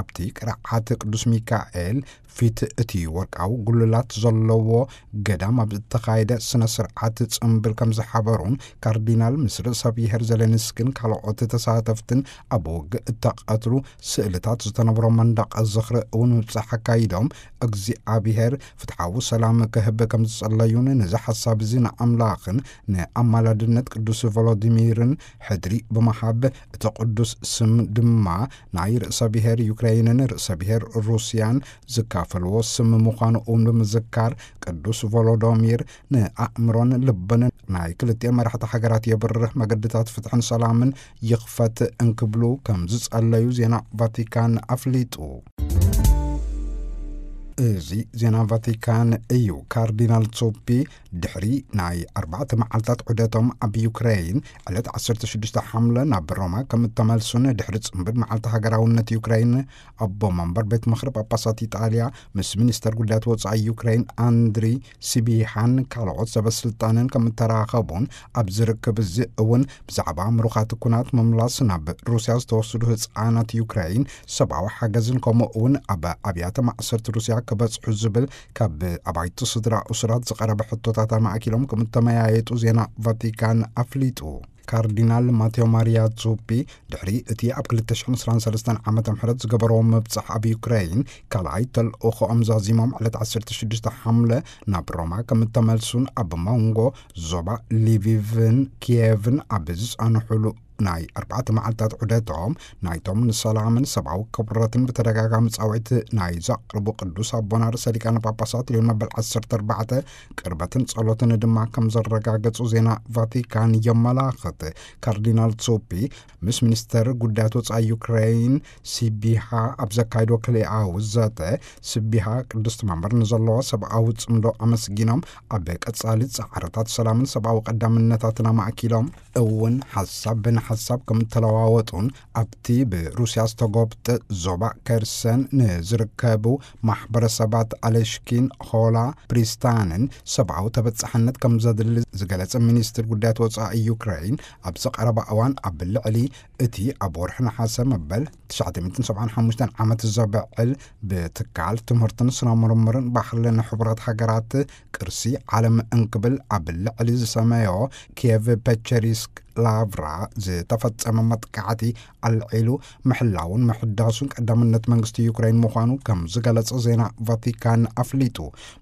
ኣብቲ ቅርዓት ቅዱስ ሚካኤል ፊት እቲ ወርቃዊ ጉልላት ዘለዎ ገዳም ኣብ ዝተኻየደ ስነ ስርዓት ጽምብል ከም ዝሓበሩን፣ ካርዲናል ምስ ርእሰ ብሔር ዜሌንስኪን ካልኦት ተሳተፍትን ኣብ ውግእ እተቐትሉ ስእልታት ዝተነብሮ መንደቕ ዝኽሪ እውን ምብጻሕ ኣካይዶም፣ እግዚኣብሔር ፍትሓዊ ሰላም ክህብ ከም ዝጸለዩን፣ ነዚ ሓሳብ እዚ ንኣምላኽን ንኣማላድነት ቅዱስ ቮሎዲሚርን ሕድሪ ብምሃብ፣ እቲ ቅዱስ ስም ድማ ናይ ርእሰ ብሔር ዩክሬይንን ርእሰ ብሔር ሩስያን ዝካፈልዎ ስም ምዃኑ እውን ብምዝካር፣ ቅዱስ ቮሎዶሚር ንኣእምሮን ልብን ናይ ክልቲኦም መራሕቲ ሃገራት የብርህ፣ መገድታት ፍትሕን ሰላምን ይኽፈት እንክብሉ ከም ዝጸለዩ ዜና ቫቲካን ኣፍሊጡ። እዚ ዜና ቫቲካን እዩ። ካርዲናል ዞፒ ድሕሪ ናይ ኣርባዕተ መዓልታት ዑደቶም ኣብ ዩክሬይን፣ ዕለት ዓሰርተ ሽዱሽተ ሓምለ ናብ ሮማ ከም እተመልሱን ድሕሪ ጽምብል መዓልቲ ሃገራውነት ዩክሬይን፣ ኣቦ መንበር ቤት ምኽሪ ጳጳሳት ኢጣልያ ምስ ሚኒስተር ጉዳያት ወጻኢ ዩክሬይን ኣንድሪ ሲቢሃን ካልኦት ሰበ ስልጣንን ከም እተራኸቡን፣ ኣብ ዝርክብ እዚ እውን ብዛዕባ ምሩኻት ኩናት ምምላስ ናብ ሩስያ ዝተወስዱ ህጻናት ዩክሬይን ሰብኣዊ ሓገዝን፣ ከምኡ እውን ኣብ ኣብያተ ማእሰርቲ ሩስያ ክበጽሑ ዝብል ካብ ኣባይቲ ስድራ እሱራት ዝቐረበ ሕቶታት ኣማእኪሎም ከም እተመያየጡ ዜና ቫቲካን ኣፍሊጡ። ካርዲናል ማቴዎ ማሪያ ዙፒ ድሕሪ እቲ ኣብ ክልተ ሽሕን ዕስራን ሰለስተን ዓመተ ምሕረት ዝገበርዎ ምብጻሕ ኣብ ዩክሬይን ካልኣይ ተልእኾኦም ዛዚሞም፣ ዕለት ዓሰርተ ሽዱሽተ ሓምለ ናብ ሮማ ከም እተመልሱን፣ ኣብ መንጎ ዞባ ሊቪቭን ኪየቭን ኣብ ዝጸንሑሉ ናይ ኣርባዕተ መዓልታት ዑደቶም፣ ናይቶም ንሰላምን ሰብኣዊ ክብረትን ብተደጋጋሚ ጻውዒት ናይ ዘቕርቡ ቅዱስ ኣቦና ርእሰ ሊቃነ ጳጳሳት ሊዮን መበል ዓሰርተ ኣርባዕተ ቅርበትን ጸሎትን ድማ ከም ዘረጋገጹ ዜና ቫቲካን የመላኽት። ካርዲናል ዞፒ ምስ ሚኒስተር ጉዳያት ወጻኢ ዩክሬይን ሲቢሃ ኣብ ዘካይዶ ክልኣዊ ዘተ፣ ስቢሃ ቅድስቲ መንበር ንዘለዎ ሰብኣዊ ጽምዶ ኣመስጊኖም፣ ኣብ ቀጻሊ ጻዕርታት ሰላምን ሰብኣዊ ቀዳምነታትን ኣማእኪሎም እውን ሓሳብ ብንሓሳብ ከም እተለዋወጡን፣ ኣብቲ ብሩስያ ዝተጎብጠ ዞባ ከርሰን ንዝርከቡ ማሕበረሰባት ኣለሽኪን፣ ሆላ፣ ፕሪስታንን ሰብኣዊ ተበጻሕነት ከም ዘድሊ ዝገለጸ ሚኒስትር ጉዳያት ወጻኢ ዩክሬይን፣ ኣብ ዝቐረባ እዋን ኣብ ልዕሊ እቲ ኣብ ወርሒ ነሓሰ መበል ትሽዓተ ሚእትን ሰብዓን ሓሙሽተን ዓመት ዘብዕል፣ ብትካል ትምህርትን ስነ ምርምርን ባህልን ሕቡራት ሃገራት ቅርሲ ዓለም እንክብል ኣብ ልዕሊ ዝሰመዮ ኪየቭ ፔቸሪስክ ላቭራ ዝተፈጸመ መጥቃዕቲ ኣልዒሉ፣ ምሕላውን ምሕዳሱን ቀዳምነት መንግስቲ ዩክሬን ምዃኑ ከም ዝገለጸ ዜና ቫቲካን ኣፍሊጡ።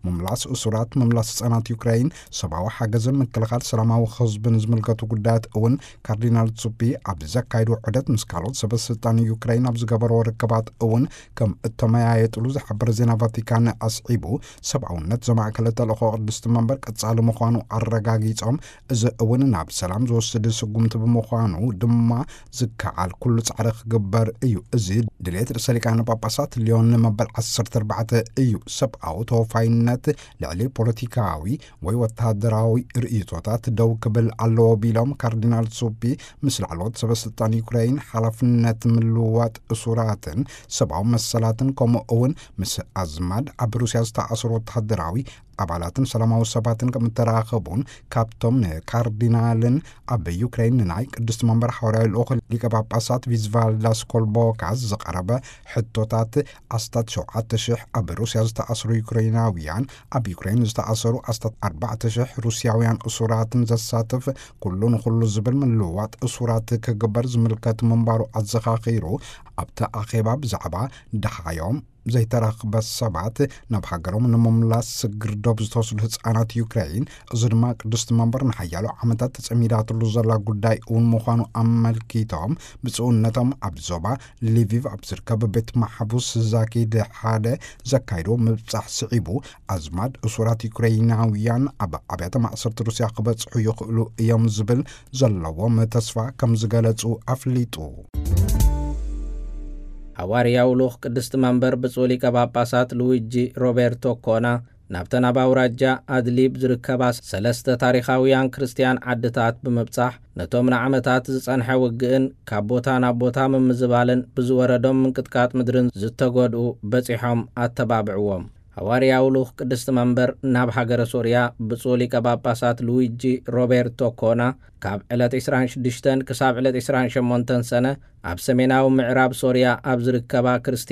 ምምላስ እሱራት፣ ምምላስ ህጻናት ዩክሬን፣ ሰብኣዊ ሓገዝን ምክልኻል ሰላማዊ ህዝብን ዝምልከቱ ጉዳያት እውን ካርዲናል ዙፒ ኣብ ዘካይዶ ዑደት ምስ ካልኦት ሰበ ስልጣን ዩክሬን ኣብ ዝገበርዎ ርክባት እውን ከም እተመያየጥሉ ዝሓበረ ዜና ቫቲካን ኣስዒቡ፣ ሰብኣውነት ዘማእከለ ተልእኾ ቅድስቲ መንበር ቀጻሊ ምዃኑ ኣረጋጊጾም፣ እዚ እውን ናብ ሰላም ዝወስድ ስጉምቲ ብምዃኑ ድማ ዝከኣል ኩሉ ጻዕሪ ክግበር እዩ። እዚ ድሌት ርእሰ ሊቃነ ጳጳሳት ሊዮን መበል ዓሰርተ ኣርባዕተ እዩ። ሰብኣዊ ተወፋይነት ልዕሊ ፖለቲካዊ ወይ ወተሃደራዊ ርእይቶታት ደው ክብል ኣለዎ ቢሎም፣ ካርዲናል ዙፒ ምስ ላዕለዎት ሰበ ስልጣን ዩክሬን ሓላፍነት ምልውዋጥ እሱራትን ሰብኣዊ መሰላትን፣ ከምኡ እውን ምስ ኣዝማድ ኣብ ሩስያ ዝተኣሰሩ ወተሃደራዊ ኣባላትን ሰላማዊ ሰባትን ከም እተራኸቡን፣ ካብቶም ንካርዲናልን ኣብ ዩክሬን ንናይ ቅድስቲ መንበር ሓዋርያዊ ልኡኽ ሊቀ ጳጳሳት ቪዝቫልዳስ ኮልቦካስ ዝቐረበ ሕቶታት፣ ኣስታት ሸውዓተ ሽሕ ኣብ ሩስያ ዝተኣስሩ ዩክሬናውያን፣ ኣብ ዩክሬን ዝተኣሰሩ ኣስታት ኣርባዕተ ሽሕ ሩስያውያን እሱራትን ዘሳትፍ፣ ኩሉ ንኹሉ ዝብል ምልውዋጥ እሱራት ክግበር ዝምልከት ምንባሩ ኣዘኻኺሩ፣ ኣብቲ ኣኼባ ብዛዕባ ደሃዮም ዘይተረኽበ ሰባት ናብ ሃገሮም ንምምላስ ስግር ዶብ ዝተወስዱ ህጻናት ዩክሬን፣ እዚ ድማ ቅድስቲ መንበር ንሓያሎ ዓመታት ተጸሚዳትሉ ዘላ ጉዳይ እውን ምዃኑ ኣመልኪቶም፣ ብጽኡነቶም ኣብ ዞባ ሊቪቭ ኣብ ዝርከብ ቤት ማሕቡስ ዛኪድ ሓደ ዘካይዶ ምብጻሕ ስዒቡ፣ ኣዝማድ እሱራት ዩክሬናውያን ኣብ ኣብያተ ማእሰርቲ ሩስያ ክበጽሑ ይኽእሉ እዮም ዝብል ዘለዎም ተስፋ ከም ዝገለጹ ኣፍሊጡ። ሃዋርያዊ ልኡኽ ቅድስቲ መንበር ብፁዕ ሊቀ ጳጳሳት ሉዊጂ ሮቤርቶ ኮና ናብተን ኣብ ኣውራጃ ኣድሊብ ዝርከባ ሰለስተ ታሪኻውያን ክርስትያን ዓድታት ብምብጻሕ፣ ነቶም ንዓመታት ዝጸንሐ ውግእን ካብ ቦታ ናብ ቦታ ምምዝባልን ብዝወረዶም ምንቅጥቃጥ ምድርን ዝተጎድኡ በጺሖም ኣተባብዕዎም። ሃዋርያዊ ልኡኽ ቅድስቲ መንበር ናብ ሃገረ ሶርያ ብፁዕ ሊቀ ጳጳሳት ሉዊጂ ሮቤርቶ ኮና ካብ ዕለት ዕስራን ሽዱሽተን ክሳብ ዕለት ዕስራን ሸሞንተን ሰነ ኣብ ሰሜናዊ ምዕራብ ሶርያ ኣብ ዝርከባ ክርስትያን